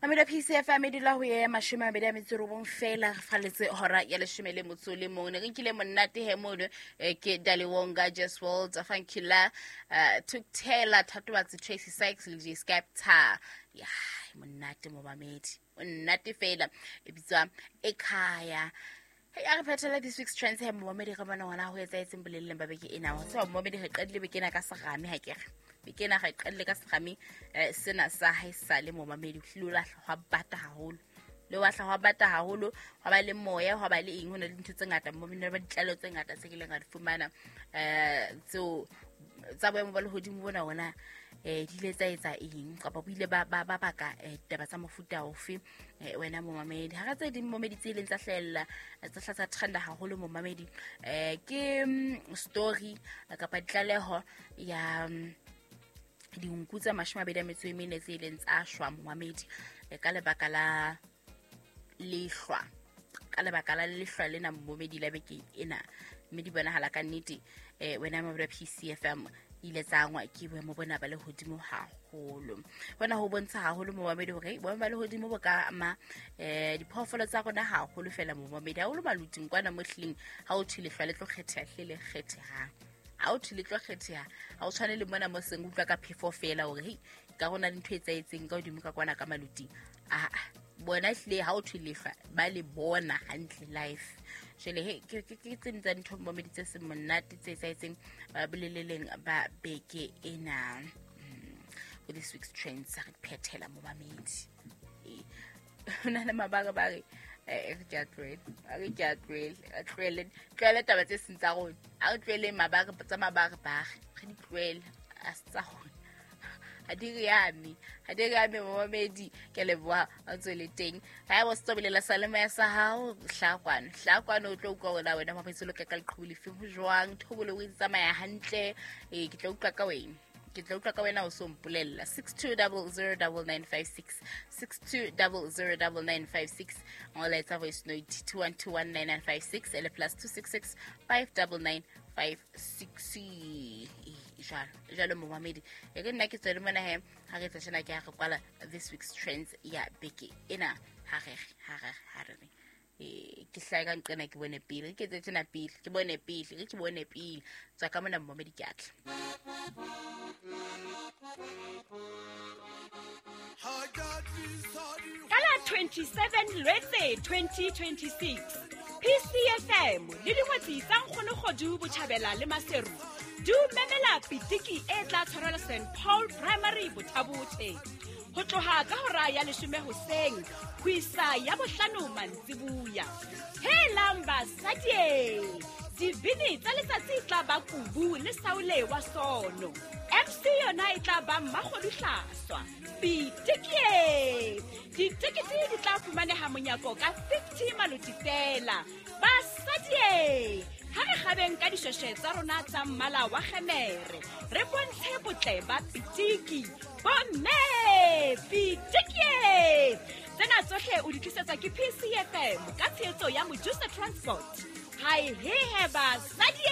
Mamelo PCFM e dula ho ye 29 feela, re falletse hora ya 11. Ne re nkile monate he mono, ke Daliwonga, Jess World, Funkilla, Tukthela, Thatobatsi, Tracy Sykes le J Skepta. Ya monate momamedi, monate fela, e bitswa Ekhaya. Hey, a re phethela this week's trends he momamedi, re bona ngwana ho etsahetseng boleleng ba beke ena. Wa tseba momamedi, re qadile beke ena ka serame, ha ke re beke ena re qadile ka serame, sena sa haesale momamedi, ho hlile o lahla hwa bata haholo, le wa hla hwa bata haholo, hwa ba le moya, hwa ba le eng, ho na le dintho tse ngata momamedi, ba ditlaleho tse ngata tse kileng ra di fumana, tseo tsa boemo ba lehodimo bona ona, di ile tsa etsa eng kapa bo ile ba ba baka ditaba tsa mofuta ofe, wena momamedi. Hara tse ding momamedi tse ileng tsa hlahella, tsa hla tsa trenda haholo momamedi, ke story kapa ditlaleho ya dinku tse 24 tse ileng tsa shwa momamedi, ka lebaka la lehlwa, ka lebaka la lehlwa lena momamedi la beke ena, mme di bonahala ka nnete, wena momamedi wa PCFM, ile tsa angwa ke boemo bona ba lehodimo haholo. Hona ho bontsha haholo momamedi hore boemo ba lehodimo bo ka ama diphoofolo tsa rona haholo fela momamedi, haholo maluting kwana mo hlileng ha o thwe lehlwa le tlo kgetheha, hle le kgethehang. Ha o thwe le tlo kgetheha, ha o tshwane le mona mo seng utlwa ka phefo fela hore hei ka rona le ntho e etsahetseng ka hodimo ka kwana ka maluting. Aa bona hlile ha o thwe lehlwa ba le bona hantle life. Jwale he ke tse ding tsa dintho momamedi tse seng monate tse etsahetseng boleleleng ba beke ena. Ho this week's trends re phethela momamedi. Ho na le mabaka ba re re ke a tlohele, a re ke a tlohele, a tlohele, tlohele taba tse seng tsa rona, a re tloheleng mabaka tsa mabaka ba re di tlohele, a se tsa rona, ha di re ame, ha di re ame momamedi. Ke leboha o tswele teng. Ha eba o se bolela sa le moya sa hao, hlaha kwano, hlaha kwano, o tlo utlwa hore na wena mamedi o loka ka leqhubu lefeng, ho jwang, thobolo o e tsamaya hantle. Ke tla utlwa ka wena, ke tla utlwa ka wena o so mpolella. 62009956, 62009956, ngola voice note 21219956 ele +266 599 56. Jwalo jwalo momamedi, e re nna ke tswele mona he, ha re etsa tjena ke ha re kwala this week's trends ya beke ena. Ha re ha re ha re ke hlae ka nqena, ke bone pele, ke etse tjena pele, ke bone pele, ke bone pele, tswa ka mona momamedi, ke atla. Ka la 27 Lwetse 2026, PCFM le dingwetsi tsa Nkgonogodu Botjhabela le Maseru di o memela pitiki e tla tshwarelwa St Paul Primary Bothabothe ho tloha ka hora ya 10 hoseng ho isa ya 5 mantsibuya. Helang basadi, dibini tsa letsatsi tla ba Kubu le Saule wa Sono, MC yona e tla ba Mmakgodu Hlaswa. Pitikie, ditekete di tla fumaneha monyako ka 50 maloti fela. Basadi, ha re kgabeng ka dishweshwe tsa rona tsa mmala wa kgemere, re bontshe botle ba pitiki. Bomme, pitikie! Tsena tsohle o di tlisetswa ke PCFM ka tshehetso ya Mojusa Transport. Hai he he basadi!